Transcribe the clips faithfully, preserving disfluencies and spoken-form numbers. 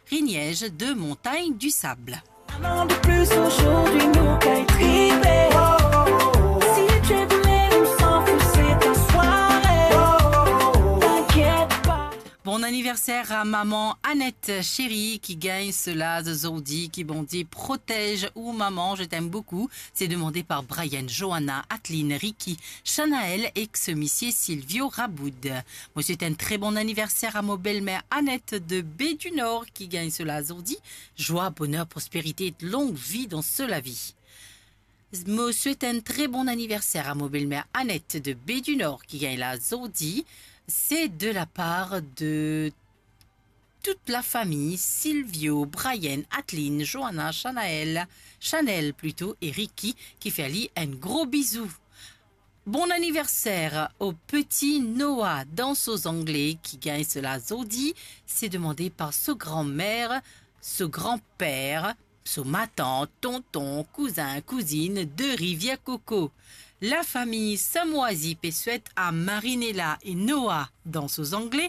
Riniège de Montagne du Sable. Un an de plus aujourd'hui, nous kay triper. Si tu es boulé, on s'en fout, c'est ta soirée. T'inquiète pas. Bon anniversaire à maman Annette chérie qui gagne ce laz zordi, ki Bondie protège ou maman, je t'aime beaucoup. C'est demandé par Brian, Johanna, Adeline, Ricky, Shanaël ek so misie Silvio Raboud. Mo swet enn tre bon anniversaire à mo belle-mère Annette de Baie du Nord qui gagne ce laz zordi. Joie, bonheur, prospérité et longue vie dans ce lavi. Mo swet enn tre bon anniversaire à mo belle-mère Annette de Baie du Nord qui gagne laz zordi. C'est de la part de toute la famille, Silvio, Brian, Adeline, Johanna, Shanaël, Chanel plito, e Ricky, ki fer li enn gro bizou. Bon anniversaire au petit Noah dans so zangle ki gagn so laz zordi. C'est demandé par so granmère, so granper, so matant, tonton, kouzin, kouzinn de Rivière Coco. La famille Samoisi pe swet à Marinella et Noah dans so zangle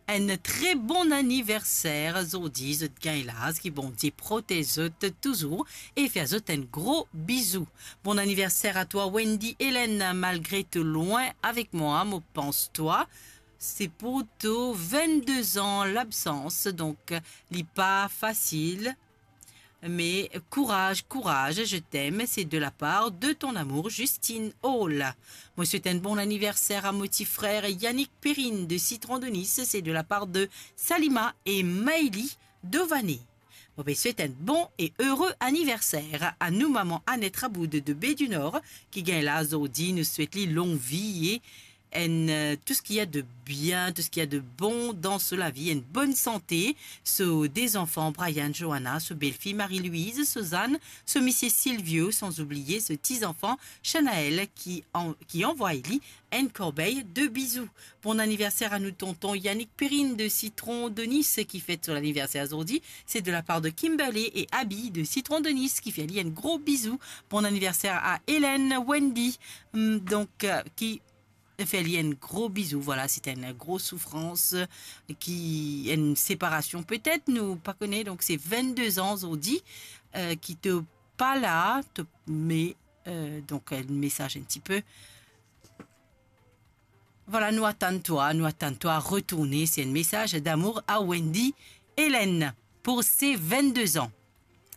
enn tre bon anniversaire zordi, zot gagn laz, ki Bondie protez zot touzour e fer zot enn gro bizou. Bon anniversaire à toi, Wendy Hélène, malgré to lwin avek mwa, mo pans twa. C'est pour tes vingt-deux ans l'absence, donc li pa fasil. Mais courage, courage, je t'aime, c'est de la part de ton amour, Justine Hall. Mo swet enn bon anniversaire à mo ti frer Yannick Perrine de Citron de Nice, c'est de la part de Salima et Maëlie Dované. Mo pe swet enn bon e ere anniversaire à nou maman Annette Raboud de Baie du Nord, ki gagn laz zordi, nou swet li long vi e enn, euh, tout ce qu'il y a de bien, tout ce qu'il y a de bon dans so lavi, enn bonn sante, so de zanfan, Brian, Johanna, so belfi, Marie-Louise, Suzanne, so misie Silvio, sans oublier so ti zanfan, Shanaël, ki an-, ki anvway li enn korbey de bizou. Bon anniversaire à nou tonton Yannick Perrine de Citron de Nice, ki fet so laniverser zordi. C'est de la part de Kimberley et Abby de Citron de Nice, ki fer li enn gro bizou. Bon anniversaire à Hélène, Wendy, hum, donc, euh, ki fer li enn gro bizou. Voilà, c'est enn gro soufrans, euh, ki, enn separasion petet, nou pa kone. Donc, c'est vingt-deux ans zordi, euh, ki to pa la, to, mais, euh, donc, enn mesaz enn tipe. Voilà, nou atann twa, nou atann twa retourne. C'est un message d'amour à Wendy Hélène pour ses vingt-deux ans.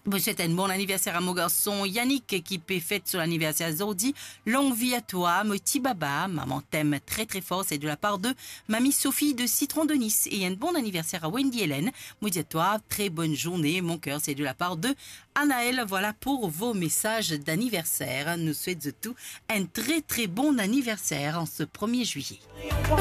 Mo swet enn bon anniversaire à mo garson Yannick ki pe fet so laniverser zordi. Long vi a twa, mo ti baba, maman t'aime très très fort, c'est de la part de Mamie Sophie de Citron de Nice. Et un bon anniversaire à Wendy Hélène. Mo dir a twa, très bonne journée, mon cœur, c'est de la part de Anaël. Voilà pour vos messages d'anniversaire. Nou swet zot tou enn tre tre bon anniversaire en ce premier juillet.